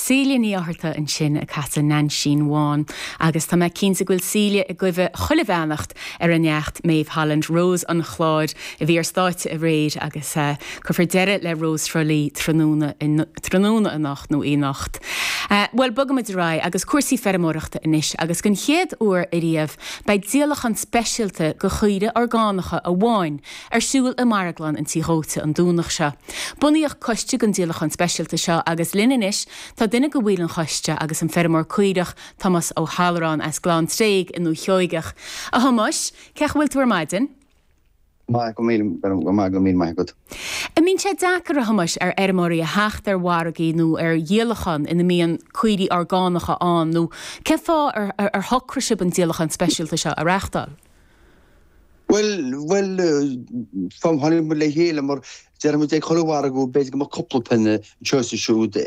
Síle Ní Fhátharta ansin ag casadh Neainsín Bhán agus tá mé cinnte go bhfuil Síle i gcuimhe chuile bheannacht ar a neacht Maeve Holland, Rose an Chláir, a bhí ar stáitse aréir agus cuirfear deireadh le Rós Thrá Lí tráthnóna tráthnóna anocht nó anocht. Bhuel, bogaimid ar aghaidh agus cúrsaí feirmeoireachta anois agus den chéad uair ariamh beidh díolachán speisialta de chaoirigh orgánacha amháin ar siúl i Marglann an Tí Dhóite an Domhnach seo. Bunaíodh coiste don díolachán speisialta seo agus linn anois tá duine de bhaill an choiste agus an feirmeoir caorach Tomás Ó hAlluráin as Gleann Tréig i nDúiche Sheoigeach. A Thomáis, cén chaoi a bhfuil tú ar maidin? Maith, go míle, go maith, go míle maith agat. An mbíonn sé deacair, a Thomáis, ar fheirmeoirí a theacht ar mhargaí nó ar dhíolachán ina mbíonn caoirigh orgánacha ann nó cén fáth ar ar shocraigh sibh an díolachán speisialta seo a reáchtáil? Bhuel, bhuel, tháinig muid le chéile mar déarfaidh muid ag chuile mhargadh b'fhéidir go mbeadh cúpla pionna anseo is ansiúd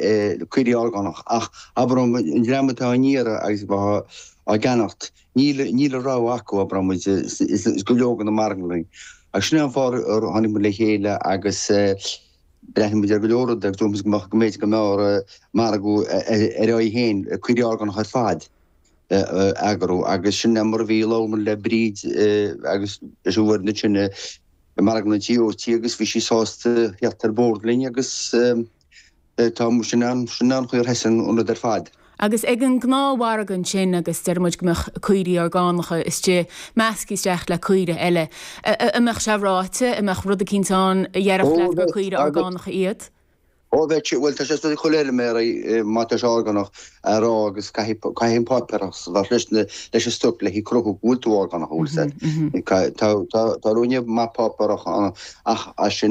caoirigh orgánach ach abair an dream atá á n-iarraidh agus atá á gceannacht níl, níl a rogha acu abair muid is go leor de na marglanna. Agus sin é an fáth ar tháinig muid le chéile agus breathnaigh muid ar go leor rudaí agus dúirt muid go mbeadh, go mb'fhéidir go mb'fhearr margadh ar aghaidh féin caoirigh orgánach ar fad. a eagrú agus sin é mar a bhí. Labhair muid le Bríd agus leis an bhfoireann ansin i Marglann an Tí Dhóite agus bhí sí sásta theacht ar bord linn agus tá sin an sin an chaoi ar thosaigh an rud ar fad. Agus ag an ngnáthmhargadh ansin agus deir muid go mbeadh caoirigh orgánacha istigh measctha isteach le caoirigh eile, an mbeadh sé ráite, an mbeadh rud eicínt ann a dhéarfadh leat gur caoirigh orgánacha iad? Ó bheadh sé, bhuel tá sé ag chuile fheirmeoir má tá sé orgánach a rá agus caithfidh, caithfidh an páipéarachas a bheith leis na, leis an stoc le cruthú go bhfuil tú orgánach, an bhfuil fhios a'd. Tá, tá, tá ruainne maith páipéarach ann ach as sin.